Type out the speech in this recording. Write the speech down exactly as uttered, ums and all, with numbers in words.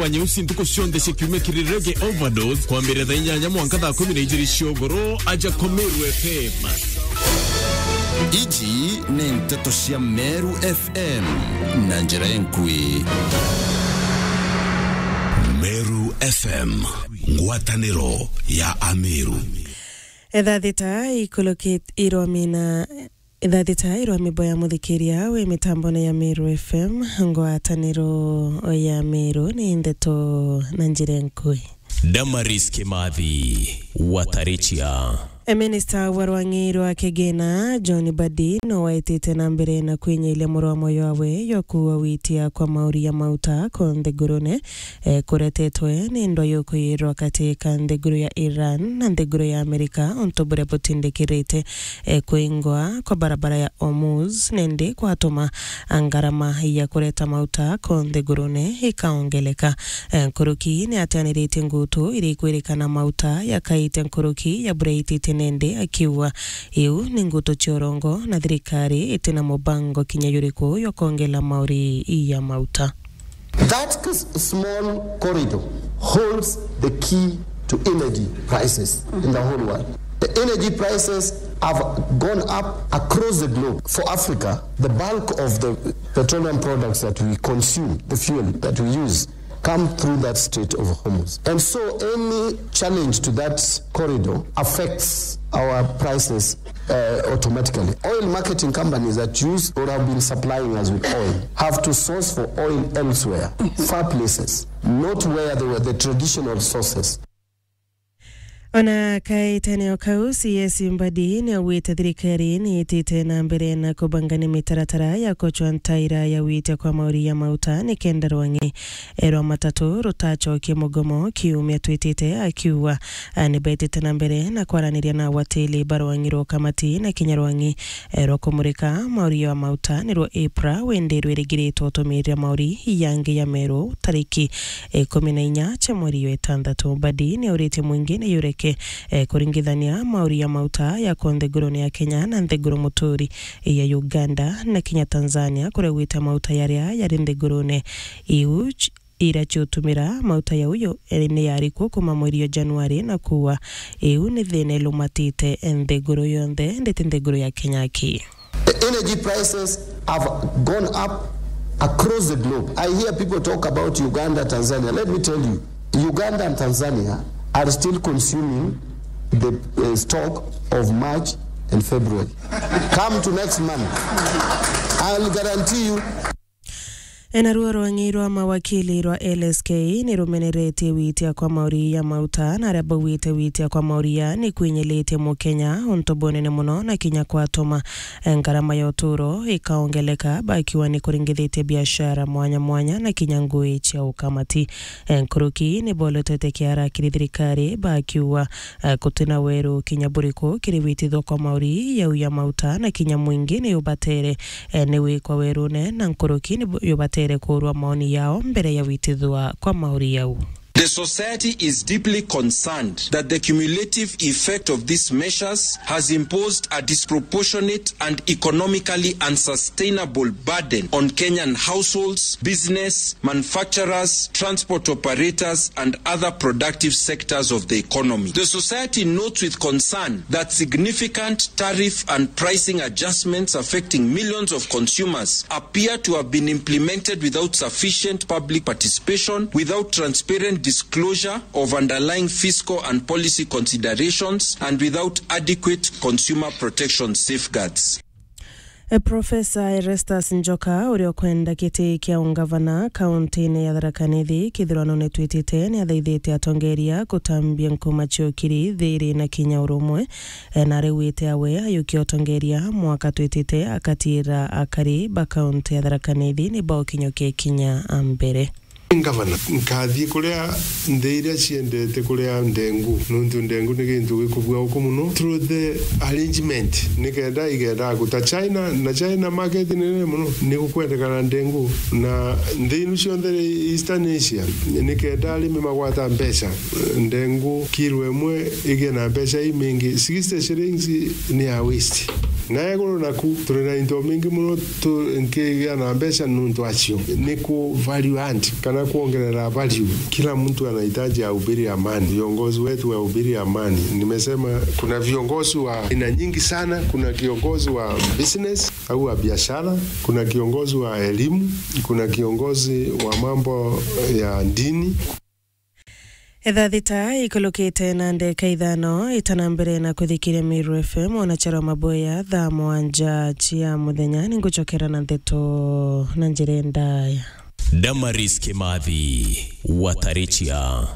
Wa nyeusi ntuku cionthe cia kiumia kiri Reggae Overdose, kwambiriria thaa inyanya mwanka thaa kumi na ijiri cia ugoro, aja kwa Meru F M. Iji ni nteto cia Meru F M na njira enkui. Meru F M, ngwataniro ya Ameru. Etha thita ikulukit-, irwamina Ithaa thita irwa mibo ya muthikiria wi mitambone ya Meru F M, ngwataniro ya Meru ni ndeto na njira enkui. Damaris Kimathi, Watarichia. E, minista wa rwang'i rwa kigina, John Mbadi, no waitite na mbere na kwinyiiria murwa moyo wawe jwa kuua witia kwa mauri ya mauta ko nthigurune, e, kuretetwe ni ndwa yukuyirwa kati ka nthiguru ya Iran na nthiguru ya Amerika, untu buria butindikirite e, kwingwa kwa barabara ya Hormuz, nindi kwatuma ngarama ya kureta mauta ko nthigurune ikaongeleka. E, nkuruki ni atianiritie ngutu iria ikwirikana mauta yakaite nkuruki ya buria itite nindi, akiuga iu ni ngutu cia urongo na thirikari itina mubango kinya juriku jwa kwongela mauri ya mauta. That s-, small corridor holds the key to energy prices in the whole world. The energy prices have gone up across the globe. For Africa, the bulk of the petroleum products that we consume, the fuel that we use, come through that Strait of Hormuz. And so any challenge to that corridor affects our prices uh, automatically. Oil marketing companies that use or have been supplying us with oil have to source for oil elsewhere, far places, not where they were the traditional sources. Ona kaitene o kau, C S Mbadi ni augite thirikari ni itite na mbere na kubanga ni mitaratara ya kucwa ntaira ya witia kwa mauri ya mauta ni kenda rwang'i erwa matatu rutacokie mugomo kiumia twitite, akiuga, a, ni betite na mbere na kwaraniria na awatili ba rwang'i rwa ukamati na kinya rwang'i, e, rwa kumurika mauri ya mauta nirwo IPRA, windi rwirigiritwe utumirira mauri yangi ya Meru tariki ikumi na inya cia mweri wa itantatu. Mbadi ni auritie mwingi ni yureke, e, kuringithania mauri ya mauta ya ko nthigurune ya Kenya na nthiguru muturi ya Uganda na kinya Tanzania, kuria gwita mauta yaria yari nthigurune iu ch-, ira ciutumira mauta yau yo, e, ni yari kuo kuma mweri wa Januari, na kuua iu ni thina ilumatite nthiguru yonthe, nditi nthiguru ya Kenya ki. The energy prices have gone up across the globe. I hear people talk about Uganda, Tanzania. Let me tell you, Uganda and Tanzania are still consuming the, uh, stock of March and February. Come to next month, I'll guarantee you. Enaruo rwang'i rwa mawakili rwa L S K ni rumeneretie witia kwa mauri ya mauta, na aria baugite witia kwa mauri ya ni kwinyilitie Mukenya untu bunene muno, na kinya kwatuma ngarama ya uturo ikaongeleka, bakiuga ni kuringithitie biashara mwanya mwanya na kinya ngui cia ukamati. Nkuruki ni bolotete kiara kiri thirikari, bakiuga, eh, gutina weru kinya buriku kiri witithwa kwa mauri yau ya mauta, na kinya mwingi ni ubatere, eh, ni wikwa werune, na nkuruki ni bu-, yubatere kurwa maoni yao mbere ya witithwa kwa mauri yau. The society is deeply concerned that the cumulative effect of these measures has imposed a disproportionate and economically unsustainable burden on Kenyan households, business, manufacturers, transport operators, and other productive sectors of the economy. The society notes with concern that significant tariff and pricing adjustments affecting millions of consumers appear to have been implemented without sufficient public participation, without transparent disclosure of underlying fiscal and policy considerations, and without adequate consumer protection safeguards. E, Profesa Erastus Njoka, uria ukwenda giti kia ungavana kauntine ya Tharaka Nithi kithurano ni twitite, ni athaithite atongeria gutambia nkuma ciokiri, thiri na kinya urumwe. E, na ariwite awe ayukia utongeria mwaka twitite, akatira akari ba kaunti ya Tharaka Nithi ni baokinyokia kinya mbere. Ngavana, nkathii kuria nthi iria ciendete kuria ndengu, nontu ndengu ni gintu gikubua uku muno through the arrangement, nikenda igenda guta China, na China market ni nene muno, ni gukwendekana ndengu, na nthi inu cionthe Eastern Asia, nikenda arimi magwata mbeca, ndengu kilo imwe igie na mbeca imingi, sixty shillings ni ya waste. Na iguru naku, turi na into mingi muno tu-, nkigia na mbeca nuntu acio. Ni ku value add, kana kuongerera value. Kila mtu anahitaji ahubiri amani. Viongozi wetu wahubiri amani. Nimesema kuna viongozi wa aina nyingi sana. Kuna kiongozi wa business au wa biashara, kuna kiongozi wa elimu, kuna kiongozi wa mambo ya dini. Ithaa thita ikulukite na ndeka ithano, itana mbere na kuthikiria Meru F M, ona charo maboya thaa mwanja cia muthenya, ninguchokera na ndeto na njira ndaya. Damaris Kimathi, Watarichia.